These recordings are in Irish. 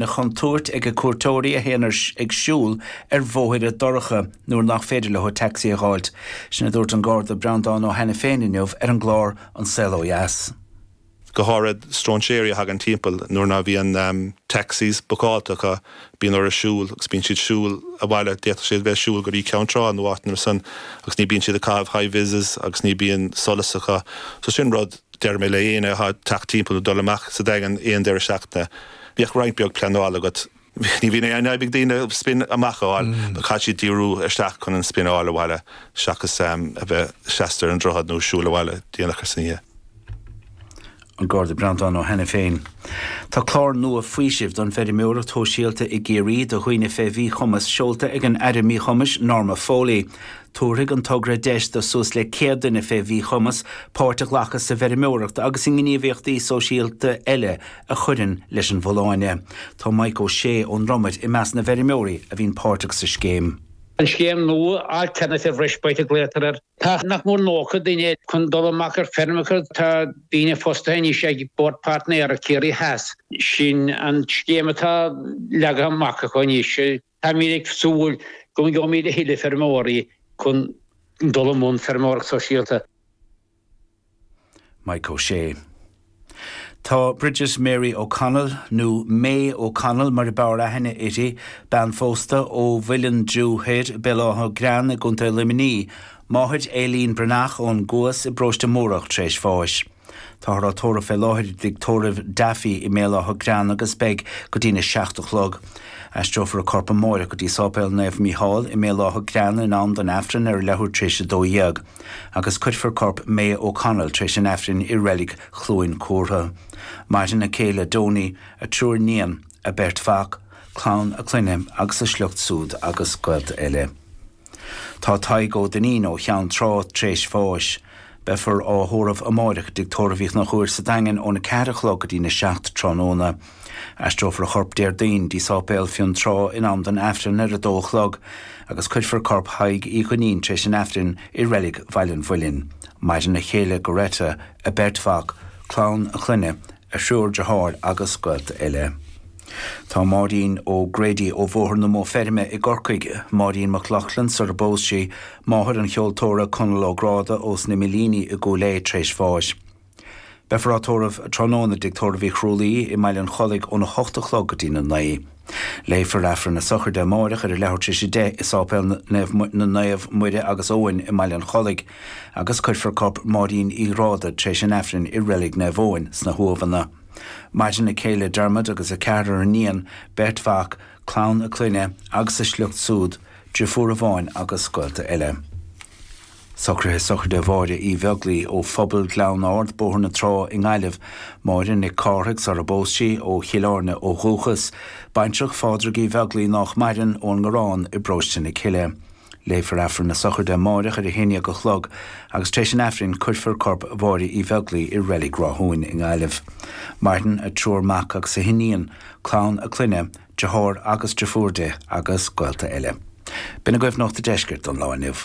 Chontúirt ag cuairteoirí a théann ag siúl ar bhóithre dorcha nuair nach féidir leo tacsaí a dh'fháilt. Sin a dúirt an Garda Breandán Ó hAiniféin inniu ar an gclár An Saol Ó Dheas. Go háirid stróinséirí a thagann timpeall nuair ná bhíonn taxis bookáilte acu, bíonn orthu siúl agus bíonn siad siúl abhaile, d'fhéadfadh siad bheith ag siúl go dtí Ceann Trá nó áiteanna mar san agus ní bíonn siad ag caitheamh high vises agus ní bíonn solas acu. So sin rud, deir mé le éinne atá ag teacht timpeall nó dul amach sa Daingean aon deireadh seachtaine, Bíodh roinnt beag pleanála agat. Ní bhíonn aon fhadhb ag daoine spin amach a fháil, but caithfidh siad díriú isteach chun an spin a fháil abhaile seachas a bheith seasta ar an droichead nó siúl abhaile déanach san oíche. An Garda Breandán Ó hAiniféin. Tá clár nua faoisimh don bhfeirmeoireacht shóisialta i gCiarraí do dhaoine fé mhíchumas seolta ag an Aire Míchumais Norma Foley. Tabharfaidh an togra deis do suas le 100 duine fé mhíchumas páirt a ghlacadh sa bhfeirmeoireacht agus i ngníomhaíochtaí sóisialta eile a chuireann leis an bhfolláine. Tá Mike Ó Sé ón Dromaid i measc na bhfeirmeoirí a bhíonn páirteach sa scéim. An scéim nua, Alternative Respite a glaotar air. Tá nach mór 90 duine chun dul amach ar feirmeacha. Tá daoine fostaithe anois ag Bord Páirtnéireacht Chiarraí Theas. Sin an scéim atá leagtha amach acu anois. Táimid ag súil go ngeobhaimid a thuilleadh feirmeoirí chun dul i mbun feirmeoireacht sóisialta. Mike Ó Sé. Tá Bridget Mary O'Connell, nó May O'Connell mar a b'fhearr aithne uirthi, bean phósta ó Mhuileann Driú Thoir, Béal Átha Grean i gContae Luimnigh, máthair Aileen Breathnach ón gCuas i bParóiste Múrach tar éis bháis. Táthar á tórramh fé láthair i dtigh tórraimh Daffy i mBéal Átha Grean agus beidh go dtína 7 a chlog. Aistreofar a corp amáireach go dtí Sáipéal Naomh Mícheál i mBéal Átha Grean in am don Aifreann ar a leathuair tar éis 12. agus cuirfear corp May O'Connell tar éis an Aifrinn i reilig Chluain Cúrtha. Maireann a céile Donie, a triúr níon, a beirt mhac, clann a clainne agus a sliocht súd agus gaolta eile. Tá Tadhg Ó Duinnín ó Cheann Trá tar éis bháis. Beifear á thórramh amáireach i dTigh Tórraimh Uí Chonchúir sa Daingean óna 4 a chlog go dtína 7 tráthnóna. Aistreofar a chorp Déardaoin dtí Sáipéal Fionntrá in am don Aifreann ar a dó a chlog agus cuirfear corp Thaidhg Uí Dhuinnín tar éis an Aifrinn i Reilig Bhaile an Mhuilinn. Maireann a chéile Goretta, a beirt mhac, clann a clainne, a thriúr deartháir agus gaolta eile. Tá Máirín O'Grady ó Bhóthar na Mó Feirme i gCorcaigh, Máirín McLaughlin sar a bpós sí, máthair an cheoltóra Conall Ó Gráda ós na Millíní i gCúil Aodha tar éis bháis. Beifear á tórramh tráthnóna i dTigh Tórraimh Uí Chrualaoi i mBaile an Chollaigh óna hocht a chlog go dtína naoi. Léifear Aifreann na Sochraide amáireach ar a leathuair tar éis a 10 i Sáipéal na Naomh Muire agus Eoin i mBaile an Chollaigh agus cuirfear corp Máirín Uí Ghráda tar éis an Aifrinn i Reilig Naomh Eoin sna hUamhanna. Maireann a céile Dermot agus a ceathrar iníon, beirt mhac, clann a clainne agus a sliocht súd, driofúr amháin agus gaolta eile. Socruithe sochraide Mháire Uí Bheaglaoi ó Phobal Ghleann Ard, Bóthar na Trá i nGaillimh, Máire Nic Cárthaigh sar a bpós sí, ó Chill Airne ó dhúchas, baintreach Phádraig Uí Bheaglaoi nách maireann, ón nGarrán i bParóiste na Cille. Léifear Aifreann na sochraide amáireach ar a haon dhéag a chlog agus tar éis an Aifrinn cuirfear corp Mháire Uí Bheaglaoi i Reilig Ráthúin i nGaillimh. Maireann a triúr mac agus a hiníon, clann a clainne, deartháir agus driofúr di agus gaolta eile. B'in agaibh Nuacht an Deiscirt don lá inniu.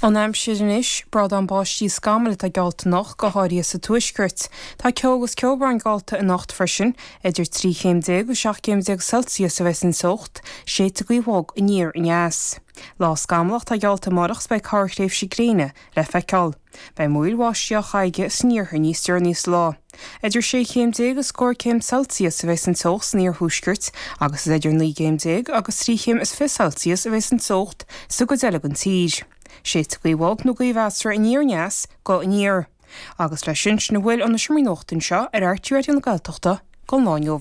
An aimsir anois, Brádán báistí is scamaill atá geallta anocht, go háirithe sa tuaisceart. Tá ceo agus ceobhrán geallta anocht freisin. Idir 13 chéim agus 17 céim Celsius a bheas an teocht, séidfidh gaoth bhog aniar aneas. Lá scamallach atá geallta amárach is beidh corrthréimhse gréine le feiceáil. Beidh múraíl bháistí á caitheamh san iarthar níos deireanaí sa lá. Idir 16 chéim agus scór céim Celsius a bheas an teocht san iarthuaisceart agus is idir 19 gcéim agus 23 chéim Celsius a bheas an teocht sa gcuid eile den tír. Séidfidh gaoth bhog nó gaoth mheasartha aniar aneas go aniar. Agus leis sin, sin a bhfuil ó na seomraí nuachta anseo ar RTÉ Raidió na Gaeltachta don lá inniu.